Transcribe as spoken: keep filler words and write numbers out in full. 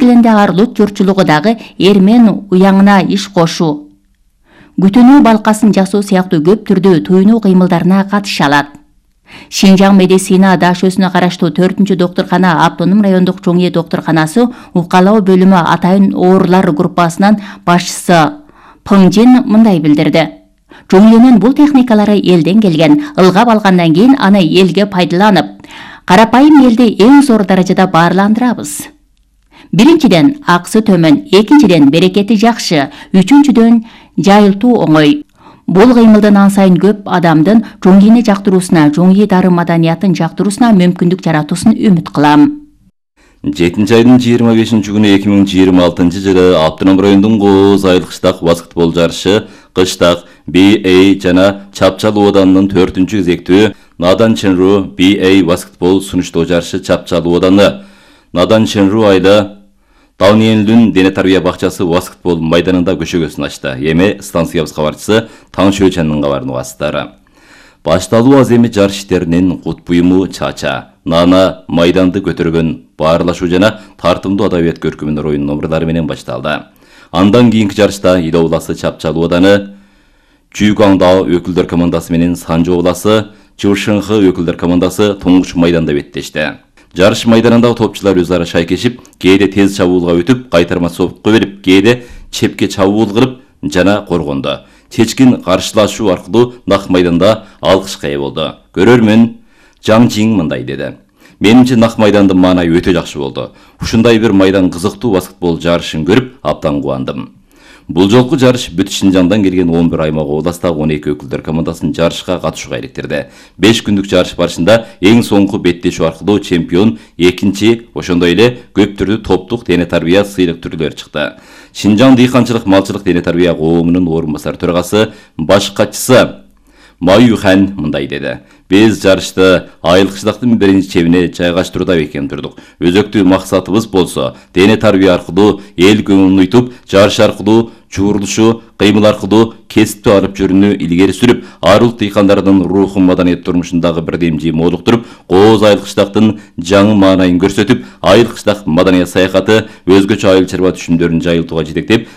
мезгилинде арлут журтчулугу дагы эрмен уяңына иш кошуу, күтүнүү балкасын жасоо сыяктуу көп түрдүү туйнуу кыймылдарына катыша алат. Шинжаң медицина дашөсүнө караштуу төртүнчү доктуркана автоном райондук чоң ээ доктурканасы укалоо бөлүмү атайын оорулар группасынын башчысы Пыңжин мындай билдирди. Чоң ээлинин бул техникалары элден келген, ылгап алгандан кийин аны элге пайдаланып, карапайым элди эң зор даражада баарландырабыз. Биринчиден, акысы төмөн, экинчиден, берекети жакшы, үчүнчүдөн, жайылтуу оңой. Бул кыймылдын ан сайын көп адамдын чоң ээни жактыруусуна, чоң ээ дары маданиятын жактыруусуна мүмкүндүк жаратуусун үмүт кылам. жетинчи айдын жыйырма бешинчи күнү эки миң жыйырма алтынчы жылы Автоном районунун Кооз айыл кыштак баскетбол жарышы кыштак би эй жана Чапчалуу оданынын төртүнчү кезектүү Надан Ченру би эй баскетбол сунуштоо жарышы Чапчалуу оданы Надан Ченру айда Дауниенлүн дене тарбия бакчасы баскетбол майданында көчөгөсүн ачты. Эми станциябыз кабарчысы Таң Чөчөнүн кабарын угасыздары. Башталуу аз эми жарыш иштеринин кут буюму чача, нана, майданды көтөргөн баарлашуу жана тартымдуу адабият көркөмүнөр оюн номурлары менен башталды. Андан кийинки жарышта Ида обласы Чапчалуу оданы, Чүйгаңдаа өкүлдөр командасы менен Санжы обласы, Чывшыңхы өкүлдөр командасы туңгуч майданда беттешти. Жарыш майданында топчулар өз ара шайкешип, кээде тез чабуулга өтүп, кайтарма сопко берип, кээде чепке чабуул кылып жана коргонду. Чечкин каршылашуу аркылуу нак майданда алкышка ээ болду. Көрөрмөн Жаң Жиң мындай деди. Менимче нак майдандын маанайы өтө жакшы болду. Ушундай бир майдан кызыктуу баскетбол жарышын көрүп, абдан кубандым. Бул жолку жарыш бүт Шинжаңдан келген он бир аймак областагы он эки өкүлдөр командасын жарышка катышууга иликтирди. беш күндүк жарыш барышында эң соңку беттешүү аркылуу чемпион, экинчи, ошондой эле көп түрдүү топтук дене тарбия сыйлык түрлөрү чыкты. Шинжаң дыйканчылык малчылык дене тарбия коомунун орун басар төрагасы, баш катчысы Маю Хан мындай деди. Биз жарышты айыл кыштактын биринчи чебине жайгаштырууда бекем турдук. Өзөктүү максатыбыз болсо, дене тарбия аркылуу эл көңүлүн уйтуп, жарыш аркылуу чуурулушу, кыймыл аркылуу кесипти алып жүрүүнү илгери сүрүп, арыл дыйкандардын рухун маданият турмушундагы бирдемчи молуктуруп, Кооз айыл кыштактын жаңы маанайын көрсөтүп, айыл кыштак маданият саякаты өзгөчө айыл чарба түшүмдөрүн жайылтууга жетектеп,